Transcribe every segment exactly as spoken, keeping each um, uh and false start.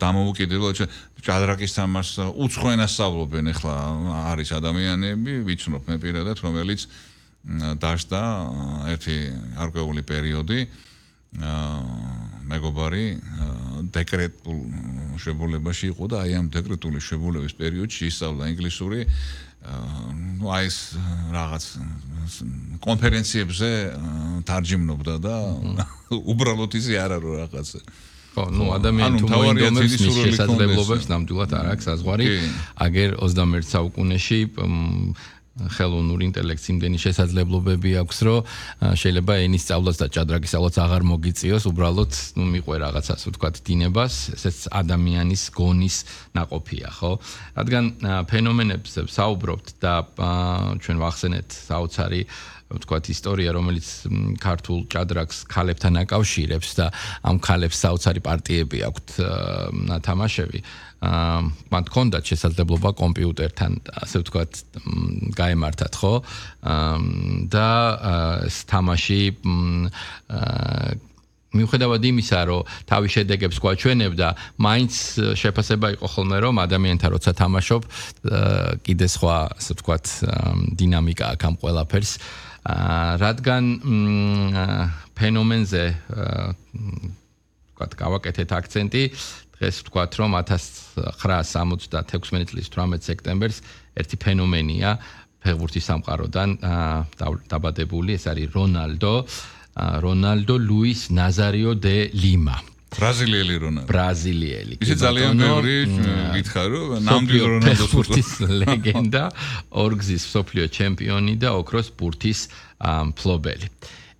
დამოუკიდებლად ჭადრაკის თამაშს უცხოენას სწავლობენ ახლა არის ადამიანები, ვიცნობ მე პირადად, რომელიც დაждდა ერთი არკვეული პერიოდი მეგობარი დეკრეტულ შებულებაში იყო და აი ამ დეკრეტული შებულების პერიოდში ისწავლა ინგლისური ну აი ეს რაღაც კონფერენციებზე თარჯიმნობდა და უბრალოდ ისე არ არის რაღაცა ხო, ну ადამიანს თუ მოინდომებს მის შესაძლებლობებს ნამდვილად არ აქვს საზღვარი. აგერ ოცდამეერთე საუკუნეში ხელოვნური ინტელექტის იმდენი შესაძლებლობები აქვს, რომ შეიძლება ენის სწავლაც და ჭადრაკის სწავლაც აღარ მოგიწიოს, უბრალოდ ну მიყვე რაღაცას, ვთქვათ, დინებას, ესეც ადამიანის გონის ნაყოფია, ხო? რადგან ფენომენებს საუბრობთ და ჩვენ ვახსენეთ საოცარი ვთქვათ ისტორია, რომელიც ქართულ ჭადრაკს ქალებთან აკავშირებს და ამ ქალებს საოცარი პარტიები აქვთ ნათამაშები. მან ჰქონდათ შესაძლებლობა კომპიუტერთან, ასე ვთქვათ, გაემართათ, ხო? და ეს თამაში მიუხედავად იმისა, რომ თავის შედეგებს გვაჩვენებდა, მაინც შეფასება იყო ხოლმე, რომ ადამიანთან როცა თამაშობ, კიდე სხვა, ასე ვთქვათ, დინამიკა აქვს ამ ყველაფერს. რადგან ფენომენზე ვთქვათ, გავაკეთეთ აქცენტი, დღეს ვთქვათ, რომ ათას ცხრაასი სამოცდათექვსმეტი წლის თვრამეტ სექტემბერს ერთი ფენომენია ფეხბურთის სამყაროდან დაბადებული, ეს არის რონალდო, რონალდო ლუის ნაზარიო დე ლიმა. ბრაზილიელი რონალდო. ბრაზილიელი. ისე ძალიან ბევრი გითხარ, რომ ნამდვილ რონალდოს ფეხბურთის ლეგენდა, ორგზის მსოფლიო ჩემპიონი და ოქროს ბურთის მფლობელი.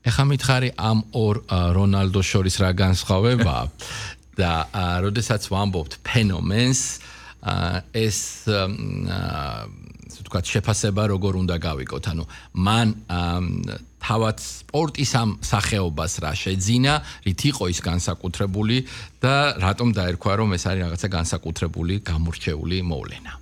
ეხლა მითხარი ამ ორ რონალდოს შორის რა განსხვავებაა და როდესაც ვამბობთ ფენომენს, ეს ვთქვათ, შეფასება როგორ უნდა გავიკოთ, ანუ მან თავად სპორტის ამ სახეობას რა შეძინა, რით იყო ის განსაკუთრებული და რატომ დაერქვა, რომ ეს არის რაღაცა განსაკუთრებული, გამორჩეული მოვლენა.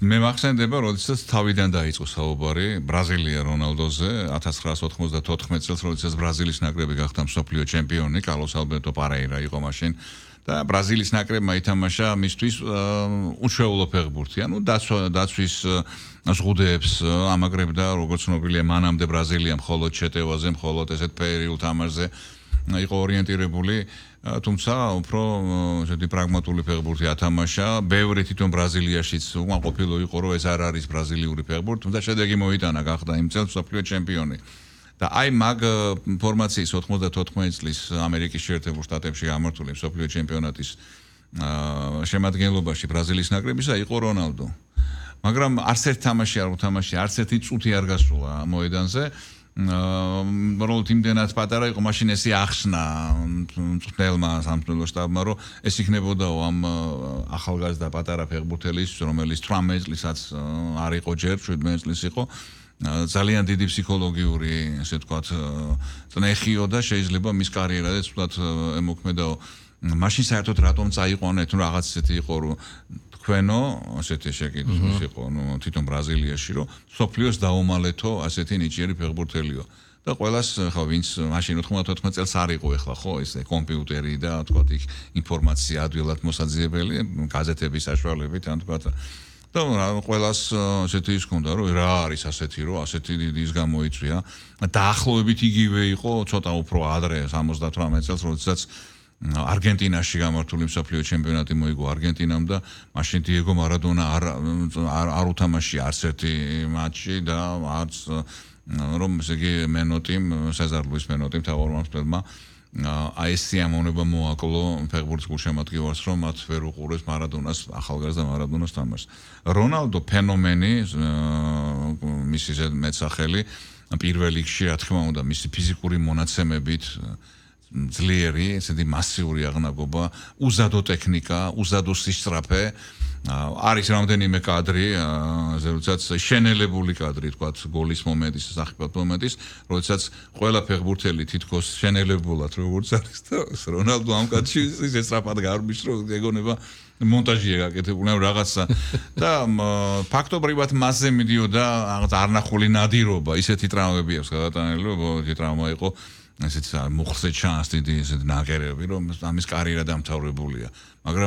მე მახსენდება, როდესაც თავიდან დაიწყო საუბარი ბრაზილია რონალდოზე, ათას ცხრაასი ოთხმოცდათოთხმეტ წელს, როდესაც ბრაზილიის ნაკრები გახდა მსოფლიო ჩემპიონი, კარლოს ალბერტო პარეირა იყო მაშინ და ბრაზილიის ნაკრებმა ითამაშა მისთვის უჩვეულო ფეხბურთი, ანუ დაცვის ზღუდეებს ამაგრებდა, როგორც ცნობილია, მანამდე ბრაზილია მხოლოდ შეტევაზე, მხოლოდ ესეთ ფეერიულ თამაშზე იყო ორიენტირებული, თუმცა უფრო ესეთი პრაგმატული ფეხბურთი ათამაშა. ბევრი თვითონ ბრაზილიაშიც უამყოფილო იყო, რომ ეს არ არის ბრაზილიური ფეხბურთი, თუმცა შედეგი მოიტანა, გახდა იმ წელს მსოფლიო ჩემპიონი. და აი მაგ ფორმაციის ოთხმოცდათოთხმეტი წლის ამერიკის შეერთებულ შტატებში გამართული მსოფლიო ჩემპიონატის შემადგენლობაში ბრაზილიის ნაკრებისა იყო რონალდო. მაგრამ არც ერთ თამაში არ უთამაშია, არც ერთი წუთი არ გასულა მოედანზე. როლ იმდენად პატარა იყო, მაშინ ესე ახსნა მწვრთნელმა სამწვრთნელო შტაბმა, რომ ეს იქნებოდაო ამ ახალგაზრდა პატარა ფეხბურთელის, რომელიც თვრამეტ წლისაც არ იყო ჯერ, შვიდმეტ წლის იყო. ძალიან დიდი ფსიქოლოგიური, ესე ვთქვათ, წნეხიო და შეიძლება მის კარიერაზე ცუდად ემოქმედაო. მაშინ საერთოდ რატომ წაიყვანეთ, თუ რაღაც ესეთი იყო, რომ თქვენო, ასეთი შეკითხვის იყო, ნუ თვითონ ბრაზილიაში, რომ სოფლიოს დაუმალეთო ასეთი ნიჭიერი ფეხბურთელიო. და ყველას ხა ვინც მაშინ ოთხმოცდათოთხმეტ წელს არ იყო ახლა, ხო, ეს კომპიუტერი და თქვათ იქ ინფორმაცია ადვილად მოსაძიებელი, გაზეთების საშუალებით, ან თქვათ და ყველას ასეთი ის ქონდა, რომ რა არის ასეთი, რომ ასეთი დიდი ის გამოიწვია. დაახლოებით იგივე იყო ცოტა უფრო ადრე სამოცდათვრამეტ წელს, როდესაც არგენტინაში გამართული მსოფლიო ჩემპიონატი მოიგო არგენტინამ და მაშინ დიეგო მარადონა არ არ უთამაშია არც ერთი მატჩი და არც რომ ესე იგი მენოტიმ სეზარ ლუის მენოტიმ თავმჯდომარემ აი ეს სიამოვნება მოაკლო ფეხბურთის გულშემატკივარს, რომ მათ ვერ უყურეს მარადონას, ახალგაზრდა მარადონას თამაშს. რონალდო ფენომენი, მისი მეტსახელი, პირველ რიგში, რა თქმა უნდა, მისი ფიზიკური მონაცემებით ძლიერი, ესეთი მასიური აღნაგობა, უზადო ტექნიკა, უზადო სისწრაფე, არის რამდენიმე კადრი, როდესაც შენელებული კადრი, თქვათ, გოლის მომენტის, სახიფათო მომენტის, როდესაც ყველა ფეხბურთელი თითქოს შენელებულად როგორც არის და რონალდო ამ კადრში ისე სწრაფად გარბის, რომ ეგონება მონტაჟია გაკეთებული, ან რაღაცა და ფაქტობრივად მასზე მიდიოდა რაღაც არნახული ნადირობა, ისეთი ტრავმები აქვს გადატანილი, რომ ეს ტრავმა იყო ესეც მოხზე ჩანს დიდი ესეთ ნაკერები, რომ ამის კარიერა დამთავრებულია. მაგრამ